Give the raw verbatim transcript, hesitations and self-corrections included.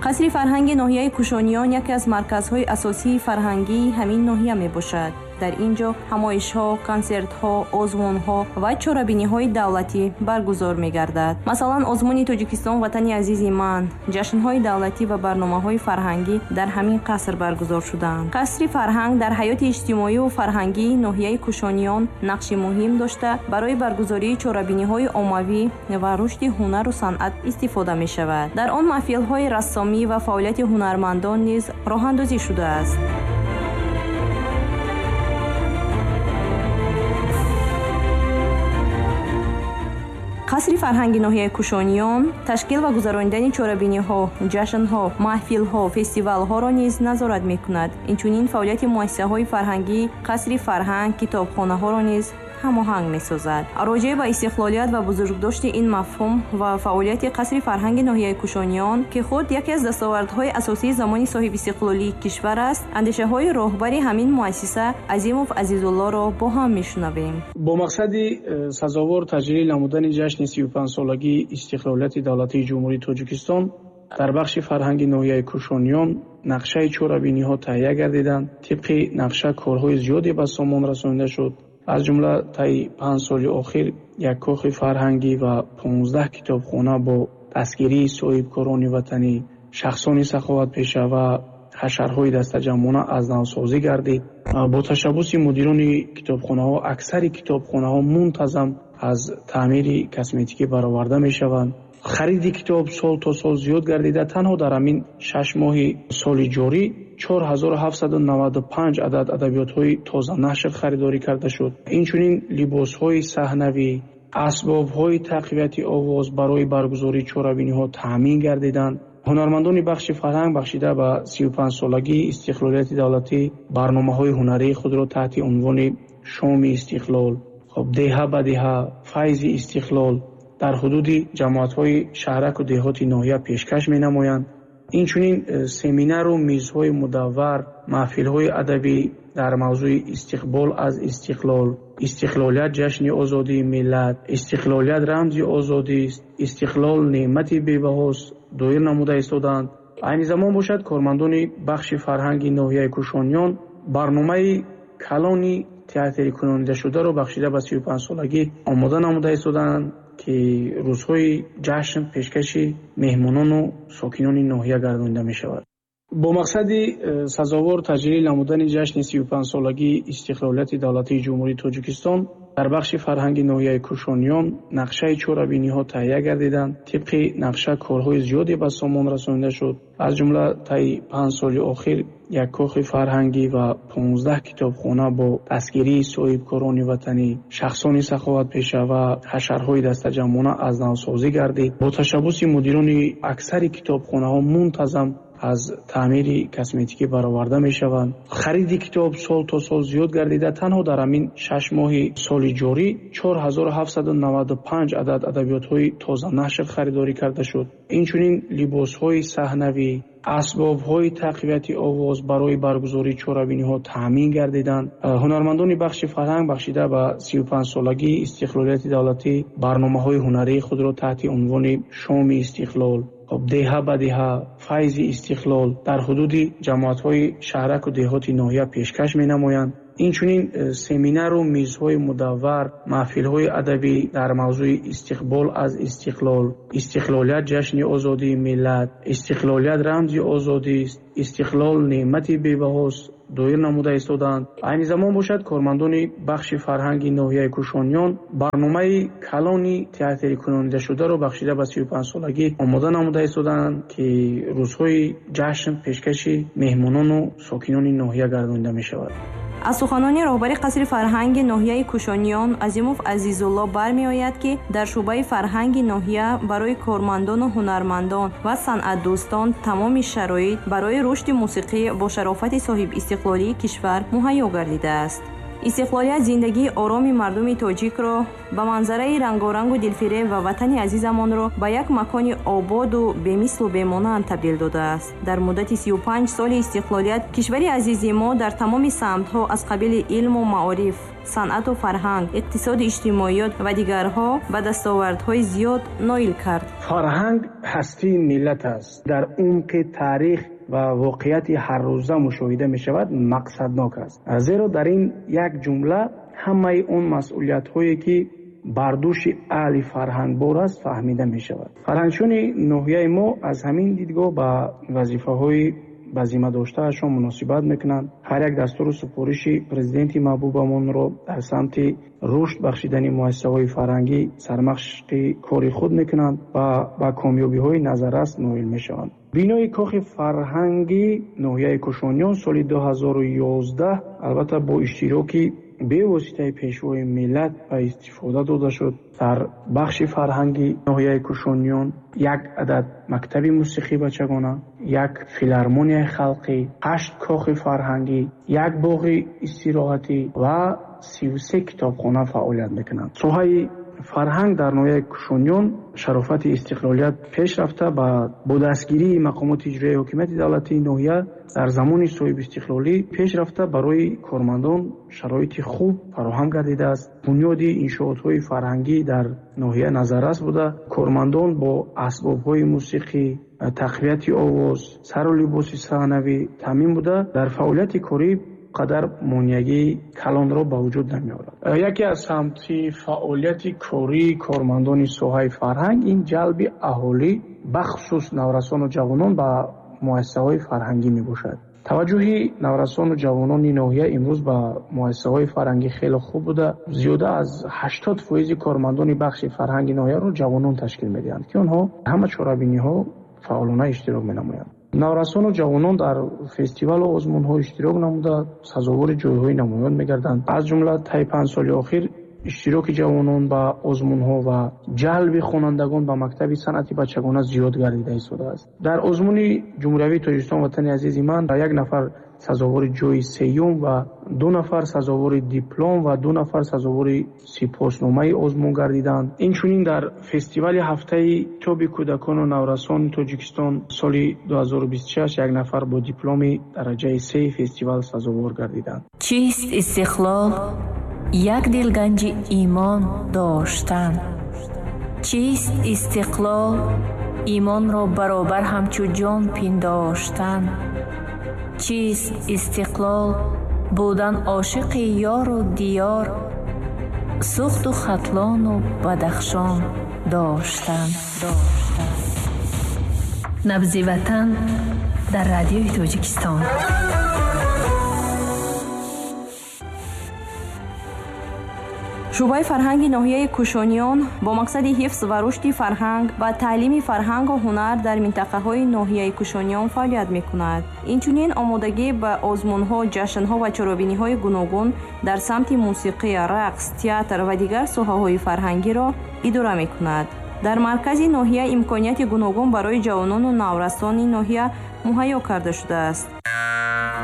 Қасри фарҳанги ноҳияи Кушониён яке аз марказҳои асосии фарҳангии ҳамин ноҳия мебошад. Дар ин ҷо ҳамоишҳо, консертҳо, озмунҳо ва чорабиниҳои давлатӣ баргузор мегардад. Масалан, озмуни Тоҷикистон ватани азизи ман, ҷашнҳои давлатӣ ва барномаҳои фарҳангӣ дар ҳамин қаср баргузор шуданд. Қасри фарҳанг дар ҳаёти иҷтимоию фарҳангии ноҳияи Кушониён нақши муҳим дошта, барои баргузории чорабиниҳои оммавӣ ва рушди ҳунару санъат истифода мешавад. Дар он маҳфилҳои рассомӣ ва фаъолияти ҳунармандон низ роҳандозӣ шудааст. Қасри фарҳанги ноҳияи Кушониён ташкил ва гузаронидани чорабиниҳо, ҷашнҳо, маҳфилҳо, фестивалҳоро низ назорат мекунад. Инчунин фаъолияти муассисаҳои фарҳангӣ, қасри фарҳанг, китобхонаҳоро низ ҳамоҳанг месозад. Роҷеъ ба истиқлолият ва бузургдошти ин мафҳум ва фаъолияти қасри фарҳанги ноҳияи Кушониён, ки худ яке аз дастовардҳои асосии замони соҳибистиқлолии кишвар аст, андешаҳои роҳбари ҳамин муассиса Азимов Азизуллоро бо ҳам мешунавем. Бо мақсади э, сазовор таҷлил намудани ҷашни сию панҷсолагии истиқлолияти давлатии Ҷумҳурии Тоҷикистон дар бахши фарҳанги ноҳияи Кушониён нақшаи чорабиниҳо таҳия гардиданд. Тибқи нақша корҳои зиёде ба сомон расонида шуд. Аз ҷумла таи панҷ соли охир як кохи фарҳангӣ ва понздаҳ китобхона бо дастгирии соҳибкорони ватанӣ, шахсони саховатпеша ва ҳашарҳои дастаҷамъона аз навсозӣ гардид. Бо ташаббуси мудирони китобхонаҳо аксари китобхонаҳо мунтазам аз таъмири косметикӣ бароварда мешаванд. Хариди китоб сол то сол зиёд гардида, танҳо дар ҳамин шаш моҳи соли ҷорӣ чор ҳазору ҳафтсаду наваду панҷ адад адабиётҳои тозанашр харидорӣ карда шуд. Инчунин либосҳои саҳнавӣ, асбобҳои тақвияти овоз барои баргузории чорабиниҳо таъмин гардиданд. Ҳунармандони бахши фарҳанг бахшида ба сию панҷсолагии истиқлолияти давлатӣ барномаҳои ҳунарии худро таҳти унвони Шоми истиқлол, хоб деҳа ба деҳа, файзи истиқлол дар ҳудуди ҷамоатҳои шаҳраку деҳоти ноҳия пешкаш менамоянд. Инчунин э, семинару мизҳои мудаввар, маҳфилҳои адабӣ дар мавзӯи истиқбол аз истиқлол, истиқлолият ҷашни озодии миллат, истиқлолият рамзи озодист, истиқлол неъмати бебаҳост доир намуда истоданд. Айни замон бошад, кормандони бахши фарҳанги ноҳияи Кушониён барномаи калони театри кунонидашударо бахшида ба сию панҷсолагӣ омода намуда истоданд, ки рӯзҳои ҷашн пешкаши меҳмонону сокинони ноҳия гардонида мешавад. Бо мақсади э, сазовор таҷлил намудани ҷашни сию панҷсолагии истиқлолияти давлатии Ҷумҳурии Тоҷикистон дар бахши фарҳанги ноҳияи Кушониён нақшаи чорабиниҳо таҳия гардиданд. Тибқи нақша корҳои зиёде ба сомон расонида шуд. Аз ҷумла таи панҷ соли охир як кохи фарҳангӣ ва понздаҳ китобхона бо дастгирии соҳибкорони ватанӣ, шахсони саховатпеша ва ҳашарҳои дастаҷамъона аз навсозӣ гардид. Бо ташаббуси мудирони аксари китобхонаҳо мунтазам аз таъмири косметикӣ бароварда мешаванд. Хариди китоб сол то сол зиёд гардида, танҳо дар ҳамин шаш моҳи соли ҷорӣ чор ҳазору ҳафтсаду наваду панҷ адад адабиётҳои тозанашр харидорӣ карда шуд. Инчунин либосҳои саҳнавӣ, асбобҳои тақвияти овоз барои баргузории чорабиниҳо таъмин гардиданд. Ҳунармандони бахши фарҳанг бахшида ба сию панҷсолагии истиқлолияти давлатӣ барномаҳои ҳунарии худро таҳти унвони Шоми истиқлол, хоб деҳа ба деҳа, файзи истиқлол дар ҳудуди ҷамоатҳои шаҳраку деҳоти ноҳия пешкаш менамоянд. Инчунин э, семинару мизҳои мудаввар, маҳфилҳои адабӣ дар мавзӯи истиқбол аз истиқлол, истиқлолият ҷашни озодии миллат, истиқлолият рамзи озодист, истиқлол неъмати бебаҳост доир намуда истоданд. Айни замон бошад, кормандони бахши фарҳанги ноҳияи Кушониён барномаи калони театри кунонидашударо бахшида ба сию панҷсолагӣ омода намуда истоданд, ки рӯзҳои ҷашн пешкаши меҳмонону сокинони ноҳия гардонида мешавад. Аз суханони роҳбари қасри фарҳанги ноҳияи Кушониён Азимов Азизулло бармеояд, ки дар шӯъбаи фарҳанги ноҳия барои кормандону ҳунармандон ва санъатдӯстон тамоми шароит барои рушди мусиқӣ бо шарофати соҳибистиқлолии кишвар муҳайё гардидааст. Истиқлолият зиндагии ороми мардуми тоҷикро ба манзараи рангорангу дилфиреб ва ватани азизамонро ба як макони ободу бемислу бемонанд табдил додааст. Дар муддати сию панҷ соли истиқлолият кишвари азизи мо дар тамоми самтҳо аз қабили илму маориф, санъату фарҳанг, иқтисоди иҷтимоиёт ва дигарҳо ба дастовардҳои зиёд ноил кард. Фарҳанг ҳастии миллат аст. Дар умқи таърих ва воқеияти ҳаррӯза мушоҳида мешавад, мақсаднок аст. Зеро дар ин як ҷумла ҳамаи он масъулиятҳое ки бар дӯши аҳли фарҳангбор аст фаҳмида мешавад. Фарҳангчиёни ноҳияи мо аз ҳамин дидгоҳ ба вазифаҳои ба зимма доштаашон муносибат мекунанд. Ҳар як дастуру супориши президенти маҳбубамонро дар самти рушд бахшидани муассисаҳои фарҳангӣ сармашқи кори худ мекунанд ва ба комёбиҳои назаррас ноил мешаванд. Бинои кохи фарҳанги ноҳияи Кушониён соли ду ҳазору ёздаҳ албатта бо иштироки бевоситаи пешвои миллат ба истифода дода шуд. Дар бахши фарҳанги ноҳияи Кушониён як адад мактаби мусиқии бачагона, як филармонияи халқӣ, ҳашт кохи фарҳангӣ, як боғи истироҳатӣ ва сию се китобхона фаъолият мекунанд. Соҳаи фарҳанг дар ноҳияи Кушониён шарофати истиқлолият пеш рафта ба бо дастгирии мақомоти иҷроияи ҳокимияти давлатии ноҳия дар замони соҳибистиқлолӣ пеш рафта барои кормандон шароити хуб фароҳам гардидааст. Бунёди иншоотҳои фарҳангӣ дар ноҳия назаррас буда, кормандон бо асбобҳои мусиқӣ, тақвияти овоз, сару либоси саҳнавӣ таъмин буда, дар фаъолияти корӣ қадар монеагии калонро ба вуҷуд намеорад. Яке аз самти фаъолияти кории кормандони соҳаи фарҳанг ин ҷалби аҳолӣ, бахусус наврасону ҷавонон ба муассисаҳои фарҳангӣ мебошад. Таваҷҷӯҳи наврасону ҷавонони ноҳия имрӯз ба муассисаҳои фарҳангӣ хеле хуб буда, зиёда аз ҳаштод фоизи кормандони бахши фарҳанги ноҳияро ҷавонон ташкил медиҳанд, ки онҳо ҳама чорабиниҳо фаъолона иштирок менамоянд. Наврасону ҷавонон дар фестивалу озмунҳо иштирок намуда, сазовори ҷойҳои намоён мегарданд. Аз ҷумла тайи панҷ соли охир иштироки ҷавонон ба озмунҳо ва ҷалби хонандагон ба мактаби санъати бачагона зиёд гардида истодааст. Дар озмуни Ҷумҳуриявии Тоҷикистон ватани азизи ман як нафар сазовори ҷойи сеюм ва ду нафар сазовори диплом ва ду нафар сазовори сипосномаи озмун гардиданд. Инчунин дар фестивали ҳафтаи китоби кӯдакону наврасони Тоҷикистон соли ду ҳазору бисту шаш як нафар бо дипломи дараҷаи сеи фестивал сазовор гардиданд. Чист истиқлол? Як дилганҷи имон доштан. Чист истиқлол? Имонро баробар ҳамчу ҷон пиндоштан. Чист истиқлол? Будан ошиқи ёру диёр, сӯхту хатлону Бадахшон доштан. Набзи ватан дар радиои Тоҷикистон. Шӯъбаи фарҳанги ноҳияи Кушониён бо мақсади ҳифз ва рушди фарҳанг ва таълими фарҳангу ҳунар дар минтақаҳои ноҳияи Кушониён фаъолият мекунад. Инчунин омодагӣ ба озмунҳо, ҷашнҳо ва чорабиниҳои гуногун дар самти мусиқӣ, рақс, театр ва дигар соҳаҳои фарҳангиро идора мекунад. Дар маркази ноҳия имконияти гуногун барои ҷавонону наврасони ноҳия муҳайё карда шудааст.